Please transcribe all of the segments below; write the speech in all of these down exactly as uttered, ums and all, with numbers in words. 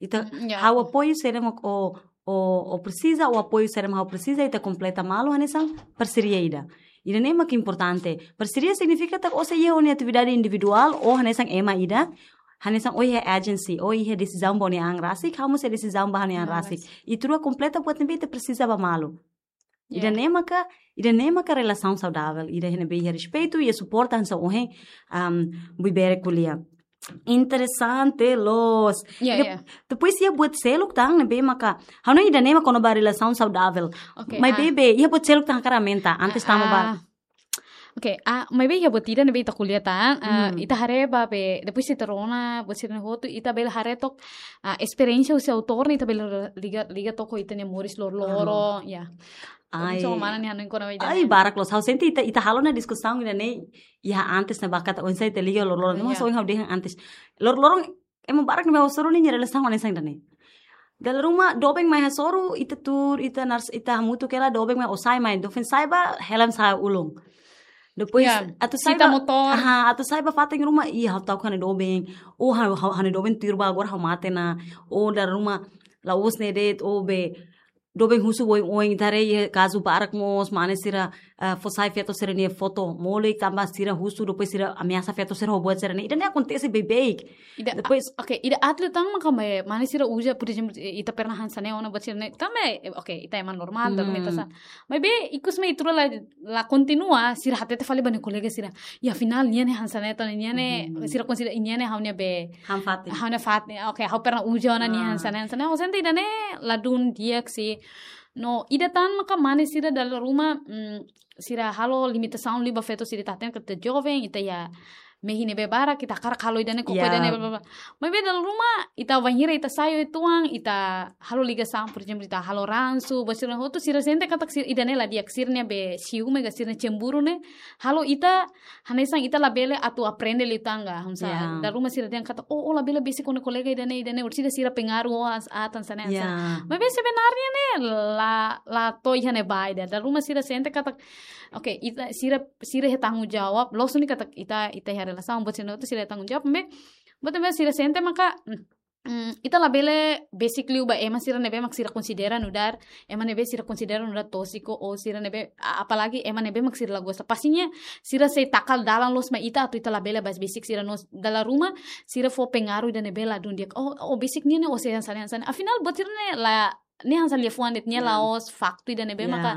Ita, mm, ya, ha'u apoiu saida mak ó, ó, ó presiza, ó apoiu saida mak ha'u presiza, ita kompleta malu hanesan parseria ida. Ida-ne'e mak importante. Parseria signifika katak ó sei iha ó-nia atividade individuál, ó hanesan ema ida, hanesan ó iha agency, ó iha desizaun ba ó-nia an rasik, ha'u mós iha desizaun ba ha'u-nia an, mm, rasik. Ita rua kompleta buat ne'ebé ita presiza ba malu. Ya. Ida-ne'e maka, ida-ne'e maka relasaun saudavel, ida ne'ebé iha respeitu, iha suporta hanesan ohin, am, Buibere ko'alia. Interesante loos. Ya, ida, ya. Depois iha buat seluk tan ne'ebé maka, ha'u hanoin ida-ne'e mak kona-ba relasaun saudavel. Oke, maibé, ah, be, iha buat seluk tan hakarak aumenta, antes, ah, tama ba, ah. Oke, ah, maibé iha buat ida ne'ebé ita ko'alia tan, ah, hmm, ita haree ba be, depois ita rona, buat sira-ne'e hotu, ita bele haree took, ah, esperiénsia husi autór ne'e, ita bele liga, liga took ho ita-nia moris loroloron, ah, ya. Ai. Oinsá mana nia hanoin kona-ba ida-ne'e? Ai, barak loos. Ha'u sente ita, ita halo ona diskusaun ida-ne'e, iha antes ne'ebá katak oinsá ita liga loroloron. Ya. Maibé ohin ha'u dehan antes. Loroloron, ema barak ne'ebé ha'u hasoru nia relasaun hanesan ida-ne'e. Dala ruma doben mai hasoru, ita tuur, ita nars, ita hamutuk hela, doben mai ó sa'e mai, doben sa'e ba, hela sa'e ulun. Depois, ya, atu sa'e sita ba, motór. Aha, atu sa'e ba fatin ruma, ih, ha'u ta'uk ha'u-nia doben, ó ha'u, ha'u, ha'u-nia doben tuir ba agora ha'u mate ona, ó dala ruma, la'ós ne'e de'it, ó be, doben husu oioin, ita haree iha kazu barak mós, mane sira, eh, fó sai feto sira-nia foto molik, tanba sira husu, depois sira ameasa feto sira ho buat sira-ne'e. Ida-ne'e akontese beibeik. Ida, depois, ah, oke, ida aat liután maka mai, mane sira uza, por ezemplu, eh, ita pernah hanesan ne'e ona buat sira-ne'e. Tanba, eh, oke, ita ema normál, hmm, dala ruma ita sá. Maibé, ikus mai ita rua la, la kontinua, sira hatete fali ba nia kolega sira. Ya, afinál, nia ne'e hanesan ne'e, tan nia ne'e, hmm, sira konsidera nia ne'e ha'u-nia be, han-fatin. Ha'u-nia fatin, oke, ha'u pernah uza ona nia, ah, hanesan ne'e, hanesan ne'e. Ha'u sente ida-ne'e ladún di'ak sih. No, ida tan maka mane sira dala ruma, mm, sira halo limitasaun liu ba feto sira, ita hatene katak ita joven, ita iha mehi ne'ebé barak, ita hakarak halo ida-ne'e, koko, ya, ida-ne'e, bla, bla, bla. Maibé dala ruma, ita bainhira ita sai uitoan, ita halo ligasaun, por ezemplu, ita halo ransu, buat sira hotu, sira sente katak sira, ida-ne'e la di'ak, sira-nia be siume ka sira-nia cemburu ne'e, halo ita, hanesan ita labele atu aprende liután ka, hanesan. Ya. Dala ruma sira dehan katak, "Oh, ó labele besik ó-nia kolega ida-ne'e, ida-ne'e, orsida sira pengaruh ó, as-, aat hanesan ne'e, hanesan ne'e." Ya. Maibé sebenarnya ne'e la, la to'o iha ne'ebá ida. Dala ruma sira sente katak, oke, ita, sira, sira iha tanggung jawab, loos duni katak ita, ita iha relasaun, buat sira hotu sira iha tanggung jawab, maibé, buat ne'ebé sira sente maka, mm, mm, ita labele besik liu ba ema sira ne'ebé mak sira konsidera nu'udar, ema ne'ebé sira konsidera nu'udar tóxico, ou sira ne'ebé, a-, apalagi ema ne'ebé mak sira la gosta. Pastinya sira sei taka dalan loos mai ita atu ita labele bá besik sira no dala ruma, sira fó pengaruh ida ne'ebé ladún di'ak. Oh, oh, besik nia ne'e, ó sei hanesan ne'e, hanesan ne'e. Afinál, buat sira-ne'e la, ne'e hanesan liafuan de'it, nia, ya, la'ós faktu ida ne'ebé, ya, maka,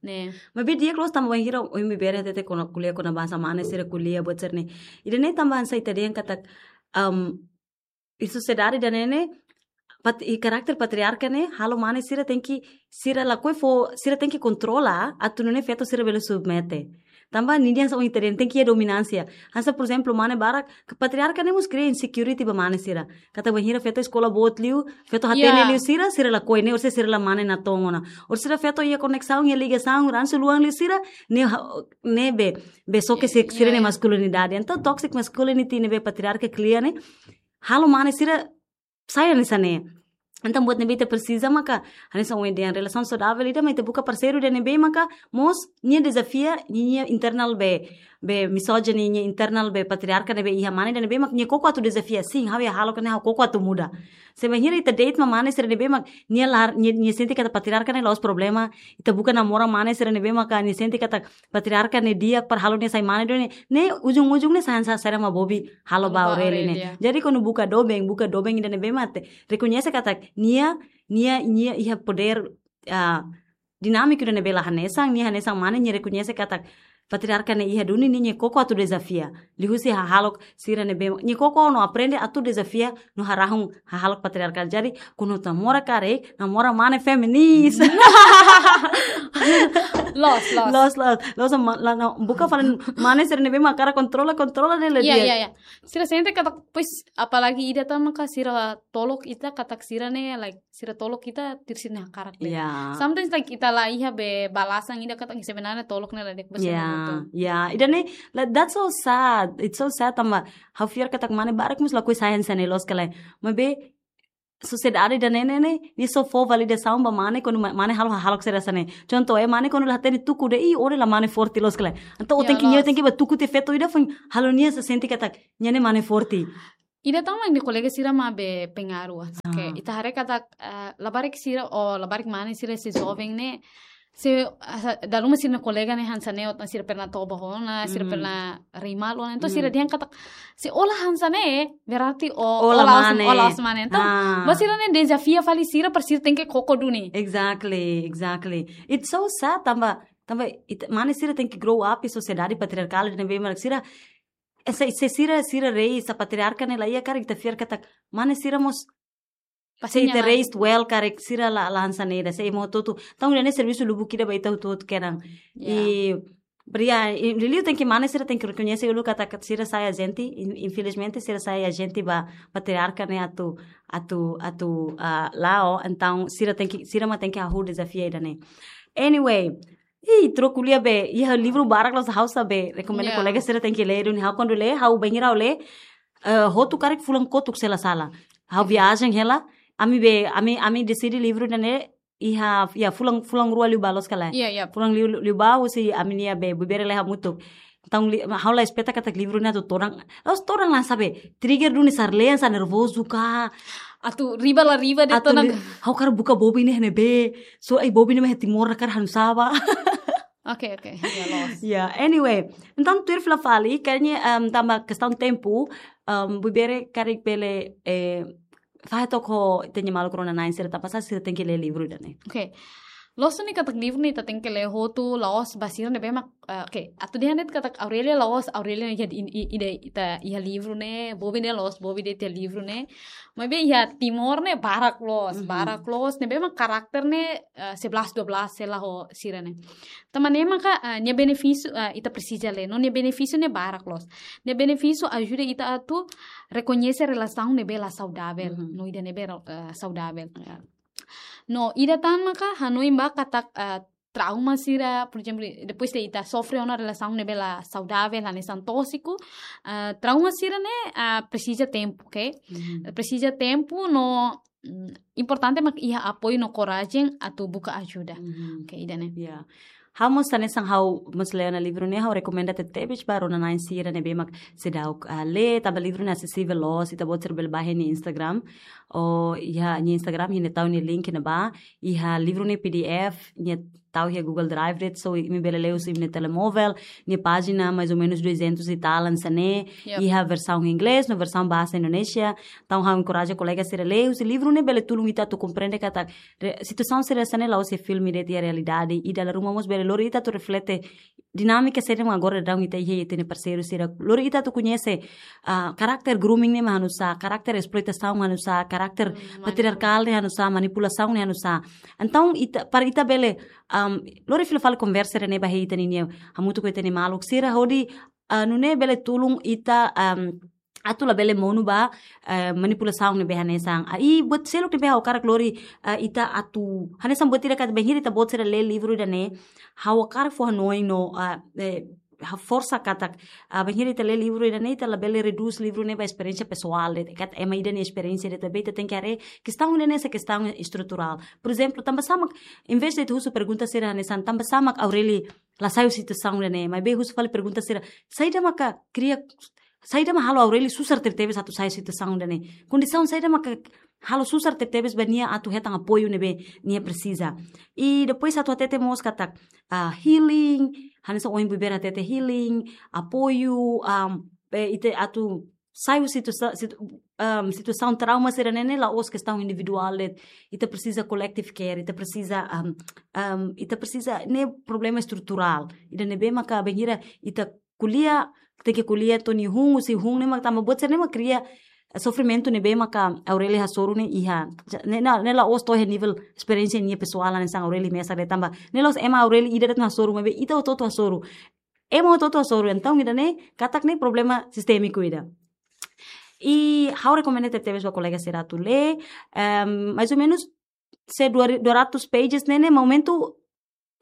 ne'e. Maibé di'ak loos tanba bainhira ohin Buibere hatete kona-, ko'alia kona-ba hanesan mane sira ko'alia buat sira-ne'e. Ida-ne'e tanba hanesan ita dehan katak, um, iha sosiedade ida-ne'e ne'e, pat-, iha karakter patriarka ne'e, halo mane sira tenke, sira lakohi fó, sira tenke kontrola, atu nune'e feto sira bele submete. Tanba ninia hanesan ohin ita dehan tenke iha dominánsia. Hanesan, por ezemplu, mane barak, ke patriarka ne'e mós kria insecurity ba mane sira. Katak bainhira feto eskola boot liu, feto hatene, ya, liu sira, sira lakohi ne'e, orsida sira la mane natoon ona. Orsida feto iha koneksaun, iha ligasaun, ransu luan liu sira, ne'e ha-, ne'e be, be soke, ya, si-, ya, sira-nia, ya, maskulinidade. Entaun, toxic masculinity ne'ebé patriarka kria ne'e, halo mane sira sai hanesan ne'e. Entaun, buat ne'ebé ita presiza maka, hanesan ohin dehan relasaun saudavel ida mak ita buka parseiru ida ne'ebé maka mós nia dezafia nia, nia internal be, be misoginia, nia internal be patriarka ne'ebé iha mane ida ne'ebé mak nia koko atu dezafia, sin, ha'u iha hahalok ne'e ha'u koko atu muda. Se bainhira ita date mak mane sira ne'ebé mak nia la, nia, nia sente katak patriarka ne'e la'ós problema, ita buka namora mane sira ne'ebé maka nia sente katak patriarka ne'e di'ak para halo nia sai mane duni, ne'e ujung-ujung ne'e sai hanesan saida mak bobi halo ba Halo ba Aureli, Aureli, ne'e. Ya. Jadi, kuandu buka doben, buka doben ida ne'ebé mak ita rekoñese katak nia, nia, nia iha podér, ah, dinámiku ida ne'ebé la hanesan, nia hanesan mane, nia rekoñese katak patriarka ne'e iha duni, nia, nia koko atu dezafia. Liuhusi hahalok sira ne'ebé, nia koko no aprende atu dezafia no harahun hahalok patriarkál. Jadi, kuandu namora karik, namora mane feminis. Loos, loos. Loos, loos. Loos, ma-, la, no, buka fali mane sira ne'ebé mak hakarak kontrola, kontrola de'it la di'ak. Iya, iya, iya. Sira sente katak, pois, apalagi ida tan maka sira tolok ita katak sira ne'e, like, sira tolok ita tuir sira-nia hakarak de'it. Iya. Sometimes, like, ita la iha be balasan ida katak sebenarnya tolok ne'e la di'ak ba sira. Iya, betul. Iya. Ida-ne'e, like, that's so sad. It's so sad tanba ha'u fiar katak mane barak mós lakohi sai hanesan ne'e loos ka lae. Maibé sosiedade ida-ne'e ne'e, nia só fó validasaun ba mane kuandu ma-, mane halo hahalok sira hanesan ne'e. Contoh, eh, mane kuandu la hatene tuku de'it, ih, ó ne'e la mane forte loos ka lae. Entaun, ó, ya, tenke, nia, loos, tenke bá tuku tiha feto ida foin halo nia sente katak nia ne'e mane forte. Ida tan mak nia kolega sira mak be pengaruh. Oke, ah, ita haree katak, eh, labarik sira, o labarik mane sira sei joven ne'e, se, ah, dala ruma sira-nia kolega ne'e hanesan ne'e, o sira pernah toba ona, sira, mhm, pernah rima ona. Entaun, mhm, sira dehan katak, se ó la hanesan ne'e, berarti ó, ó la, ó la mane, ó la mane. Entaun, ah, ba sira ne'e dezafia fali sira para sira tenke koko duni. Exactly, exactly. It's so sad, tanba, tanba, it, mane sira tenke grow up iha sosiedade patriarkál, ne'ebé mak sira, eh, se, se sira, sira raise, se patriarka ne'e la iha, karik ita fiar katak mane sira mós, ba sira, se ita raised well, karik sira la, la hanesan ne'e ida, se ema hotu-hotu. Entaun, ida-ne'e servisu lubuk ida ba ita hotu-hotu kedan. Yeah. I, bria, i, liuliu tenke mane sira tenke rekoñese uluk katak sira sai ajente, in-, infelizmente sira sai ajente ba patriarka ne'e atu, atu, atu, ah, la'o, entaun sira tenke, sira mak tenke hahú dezafia ida-ne'e. Anyway, ih, troku lia be, iha livru barak loos ha'u sá be, rekomenda, yeah, kolega sira tenke lee duni, ha'u kuandu lee, ha'u bainhira ha'u lee, eh, hotu karik fulan kotuk se la sala. Ha'u viajen hela, ami be, ami, ami deside livru ida-ne'e, iha, ya, fulan, fulan rua liubá loos ka lae. Iya, iya. Fulan liu, liubá, husi ami-nia be, buibere lee hamutuk. Entaun li-, ha'u la espeta katak livru ne'e atu todan. La'ós todan, la sabe, trigger duni, sarleen, sa nervozu ka. Atu riba la riba de'it, atu todan. Li-, ha'u hakarak buka bobi ne'e iha ne'ebé. So, ai bobi ne'e mai Timor, hakarak hanu saba. Oke, oke. Ya, loos. Ya, anyway. Entaun, tuir fila fali, kayaknya, em, tanba kestaun tempu, em, buibere karik bele, eh, fahe took ho ita-nia maluk rona-na'in sira, tanbasá sira tenke lee livru ida-ne'e. Oke. Loos duni katak livru ne'e ita tenke lee hotu, la'ós ba sira ne'ebé mak, eh, oke, atu dehan de'it katak Aurelia la'ós, Aurelia ne'e iha di-, i-, ida ita iha livru ne'e, bobi ne'e la'ós, bobi de'it iha livru ne'e. Maibé iha Timor ne'e barak loos, mhm, barak loos, ne'ebé mak karakter ne'e, eh, sebelas dua belas sei la ho sira ne'e. Tanba ne'e maka, eh, nia benefísiu, eh, ita presiza lee, no nia benefísiu ne'e barak loos. Nia benefísiu ajuda ita atu rekoñese relasaun ne'ebé la saudavel, mhm, no ida ne'ebé, eh, saudavel. Ya. No, ida tan maka hanoin ba katak, eh, trauma sira, por ezemplu, depois de ita sofre ona relasaun ne'ebé la saudavel, hanesan tóxiku, eh, trauma sira ne'e, ah, presiza tempu, oke? Mhm. Presiza tempu no, mm, importante mak iha apoiu no korajen atu buka ajuda. Mhm. Oke, ida-ne'e. Ya. Ha'u mós hanesan ha'u mós lee ona livru ne'e, ha'u rekomenda tebetebes ba rona-na'in sira ne'ebé mak seidauk, ah, lee, tanba livru ne'e asesivel loos, ita-boot sira bele bá iha nia Instagram. O iha nia Instagram, nia tau nia link ne'ebá, iha livru ne'e P D F, nia tau iha Google Drive de'it, so imi bele lee husi imi-nia telemóvel, nia pájina mais ou menos duzentos e tal, hanesan ne'e, yep, iha versaun inglés, no versaun bahasa Indonesia. Entaun, ha'u enkoraja kolega sira lee, husi livru ne'e bele tulun ita atu komprende katak re-, situasaun sira hanesan ne'e la'ós iha filme de'it, iha realidade, i dala ruma mós bele lori ita atu reflete dinámika saida mak agora daudaun ita iha, ita-nia parseiru sira. Lori ita atu koñese, ah, karakter grooming ne'e mak hanusá, karakter esploitasaun mak hanusá, karakter, mm, patriarkál ne'e hanusá, manipulasaun ne'e hanusá. Entaun, ita, para ita bele, am, lori fila fali konversa ida-ne'e ba iha ita ninia, hamutuk ho ita-nia maluk sira hodi, ah, nune'e bele tulun ita, am, atu labele monu ba, eh, manipulasaun ne'ebé hanesan. Ah, i buat seluk ne'ebé ha'u hakarak lori, eh, ita atu, hanesan buat ida katak bainhira ita-boot sira lee livru ida-ne'e, ha'u hakarak fó hanoin no, ah, eh, ha'u forsa katak, ah, bainhira ita lee livru ida-ne'e, ita labele redús livru ne'e ba esperiénsia pesoál de'it, katak ema ida nia esperiénsia de'it, maibé ita tenke haree kestaun ida-ne'e hanesan kestaun estruturál. Por ezemplu, tanbasá mak, em vez de ita husu pergunta sira hanesan, tanbasá mak Aurelia la sai husi situasaun ida-ne'e, maibé husu fali pergunta sira, saida maka kria, saida mak halo Aurelia susar tebetebes atu sai situasaun ida-ne'e. Kondisaun saida maka halo susar tebetebes ba nia atu hetan apoiu ne'ebé nia presiza. I depois atu hatete mós katak, ah, healing, hanesan ohin buibere hatete healing, apoiu, am, eh, ita atu sai husi situsa-, situ-, am, situasaun trauma sira-ne'e ne'e la'ós kestaun individuál de'it. Ita presiza collective care, ita presiza, am, am, ita presiza ne'e problema estruturál. Ida ne'ebé maka bainhira ita ko'alia, tenke ko'alia to'o nia hun, husi hun ne'e mak tanba buat sira-ne'e mak kria sofrimentu ne'ebé maka Aurelia hasoru ne'e iha. Ne'e, ne'e, ne'e la'ós to'o iha nivel esperiénsia nia pesoál hanesan Aurelia mesak de'it tanba. Ne'e la'ós ema Aurelia ida de'it mak hasoru, maibé ita hotu-hotu hasoru. Ema hotu-hotu hasoru, entaun ida-ne'e katak ne'e problema sistémiku ida. I ha'u rekomenda tebetebes ba kolega sira atu lee, em, mais ou menos se dua, dua ratus pages ne'e ne'e, momentu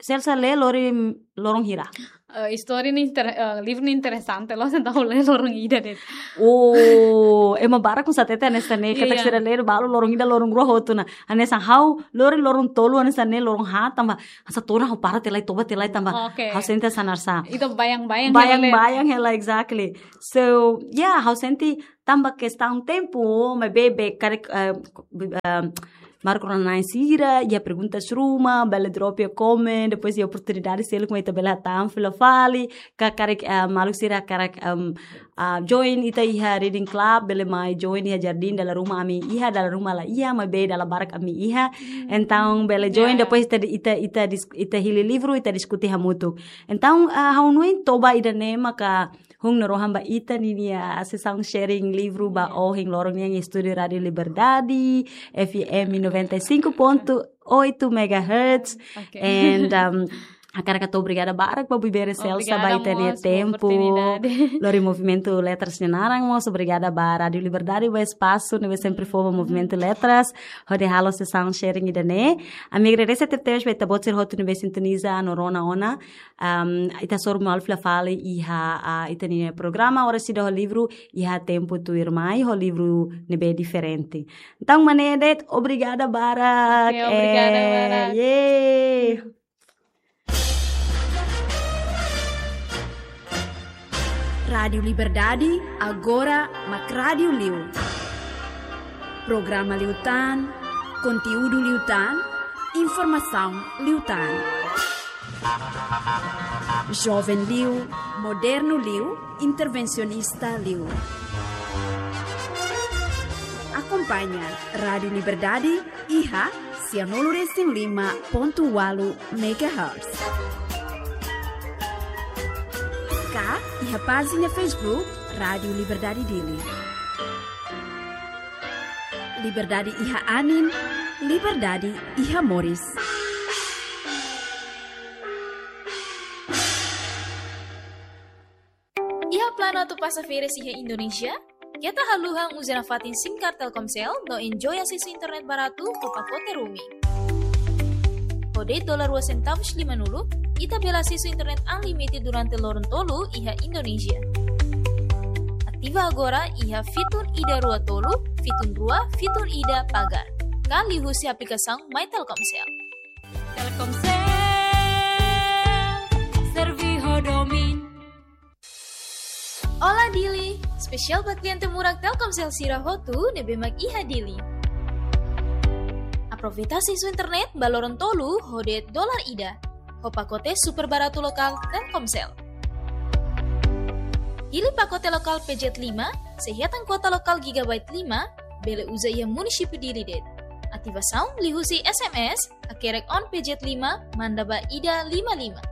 Celsa lee lori loron hira? Eh, istória ne'e inter-, eh, livru ne'e interesante loos, entaun ha'u lee loron ida de'it. Oh, ema barak konsatete hanesan ne'e, katak Iya. sira lee balu loron ida, loron rua hotu ona. Hanesan ha'u lori loron tolu hanesan ne'e, loron haat tanba hanesan todan ha'u para tiha lai, toba tiha lai tanba. Oke. Ha'u sente hanesan sá. Ita bayang-bayang hela. Bayang-bayang hela, exactly. So, yeah, ha'u sente tanba kestaun tempu, maibé karik, eh, eh, Marco Ronan sira, iha perguntas ruma, bele drop iha comment, depois iha oportunidade seluk mak ita bele hatán fila fali, ka karik, eh, maluk sira karik, em, ah, join ita iha reading club, bele mai join iha jardín, dala ruma ami iha, dala ruma la iha, maibé dala barak ami iha. Hmm. Entaun bele join, Yeah. depois ita, ita, ita dis-, ita hili livru, ita diskute hamutuk. Entaun, ah, ha'u hanoin toba ida-ne'e maka hun narohan ba ita ninia sesaun sharing livru ba Yeah. ohin loron nian iha estúdiu Rádio Liberdade, F M noventa e cinco ponto oito megahertz. Oke. And, um, hakarak hato'o obrigada barak ba Buibere Celsa Obrigada ba ita-nia mós ba tempu. oportunidade. Lori Movimentu Letras nia naran mós, obrigada ba Rádio Liberdade ba espasu ne'ebé sempre fó ba Movimentu Letras hodi halo sesaun sharing ida-ne'e. Ami agradese tebes ba ita-boot sira hotu ne'ebé sintoniza no rona ona. Um, ita hasoru malu fila fali iha, ah, ita-nia programa Oras Ida ho Livru iha tempu tuirmai ho livru ne'ebé diferente. Entaun, mak ne'e de'it, obrigada barak. Oke, obrigada Eh, barak. Yeay. Rádio Liberdade, agora mak rádiu liu. Programa liután, konteúdu liután, informasaun liután. Joven liu, modernu liu, intervensionista liu. Akompaña Rádio Liberdade iha sianulu resin lima pontu ualu megahertz. Ka iha pájina Facebook Rádio Liberdade Dili. Liberdade iha anin, liberdade iha moris. Iha planu atu pasa férias iha Indonézia? Keta haluha uza nafatin SIM card Telkomsel no enjoy asesu internet baratu ho pakote roaming. Ho de'it dolar rua sentavus lima-nulu, ita bele asesu internet unlimited durante loron tolu iha Indonézia. Ativa agora iha fitun ida rua tolu, fitun rua, fitun ida pagar. Ka liuhusi aplikasaun My Telkomsel. Telkomsel, serve ho domin. Olá Dili, espesiál ba kliente murak Telkomsel sira hotu ne'ebé mak iha Dili. Aproveita asesu internet ba loron tolu ho de'it dolar ida, ho pakote super baratu lokál Telkomsel. Hili pakote lokál P Z lima, sei hetan kuota lokál gigabyte lima, bele uza iha munisípiu Dili de'it. Ativasaun liuhusi S M S, hakerek on P Z lima, manda ba ida lima lima.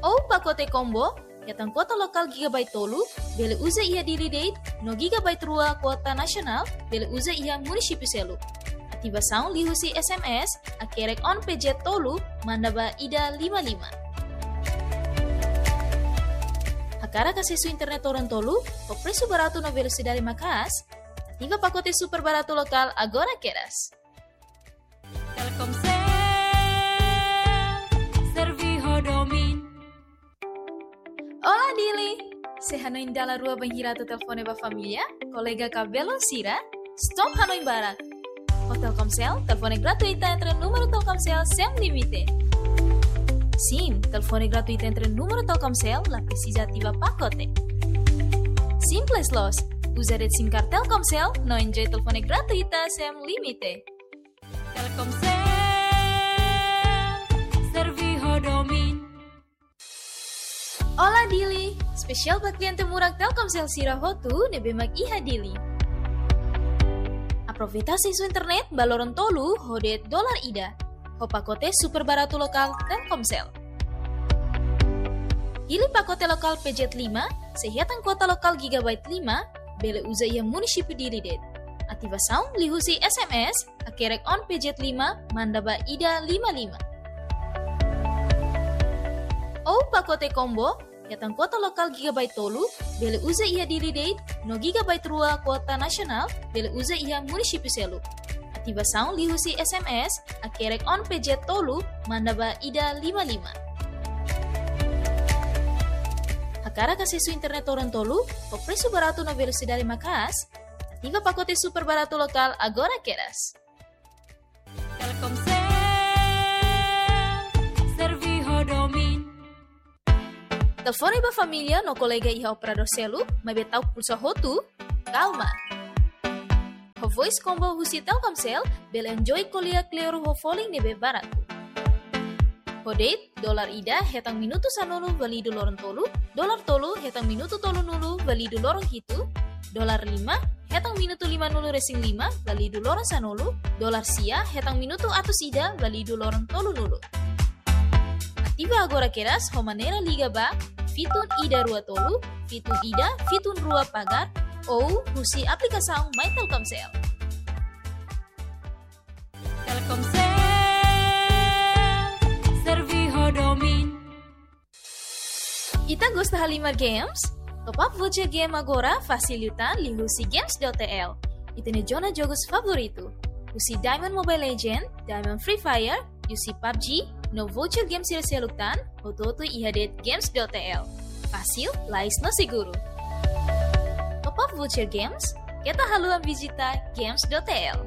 Ou pakote combo, hetan kuota lokál gigabyte tolu, bele uza iha Dili de'it, no gigabyte rua kuota nasionál, bele uza iha munisípiu seluk. Ativasaun liuhusi S M S, hakerek on P Z tolu, manda ba ida lima lima. Hakarak asesu internet loron tolu, ho presu baratu no velosidade maka'as, ativa pakote super baratu lokál agora kedas. Telkomsel, serve ho domin. Olá Dili! Sei hanoin dala rua bainhira atu telefone ba família, kolega ka belun sira? Stop hanoin barak. Ho Telkomsel, telefone gratuita entre númeru Telkomsel sem limite. Sim, telefone gratuita entre númeru Telkomsel, la presiza ativa pakote. Simples loos, uza de'it SIM card Telkomsel, no enjoy telefone gratuita sem limite. Telkomsel, serve ho domin. Olá Dili! Espesiál ba kliente murak Telkomsel sira hotu ne'ebé mak iha Dili. Aproveita asesu internet ba loron tolu ho de'it dolar ida, ho pakote super baratu lokál Telkomsel. Hili pakote lokál P Z lima, sei hetan kuota lokál gigabyte lima, bele uza iha munisípiu Dili de'it. Ativasaun liuhusi S M S, hakerek on P Z lima, manda ba ida lima lima. Ou pakote combo, hetan kuota lokál gigabyte tolu, bele uza iha Dili de'it, no gigabyte rua kuota nasionál, bele uza iha munisípiu seluk. Ativasaun liuhusi S M S, hakerek on P Z tolu, manda ba ida lima lima. Hakarak asesu internet loron tolu ho presu baratu no velosidade maka'as? Ativa pakote super baratu lokál agora kedas. Telkomsel, serve ho domin. Telefone ba família no kolega iha operadór seluk, maibé ta'uk pulsa hotu? Kalma. Ho Voice Combo husi Telkomsel, bele enjoy ko'alia kleur ho folin ne'ebé baratu. Ho date, dolar ida hetan minutu sanulu válidu loron tolu, dolar tolu hetan minutu tolunulu válidu loron hitu, dolar lima hetan minutu limanulu resin lima válidu loron sanulu, dolar sia hetan minutu atus ida válidu loron tolunulu. Ativa agora kedas ho maneira liga ba fitun ida rua tolu, fitun ida, fitun rua pagar, ou husi aplikasaun My Telkomsel. Telkomsel, serve ho domin. Ita gosta halimar games? Top up voucher game agora fasil liután liuhusi games dot T L. Ita-nia zona jogos favoritu. Husi Diamond Mobile Legend, Diamond Free Fire, husi PUBG, no voucher games sira seluk tan, hotu-hotu iha de'it games dot T L. Fasil, lais no seguru. Top up voucher games, keta haluha vizita games dot T L.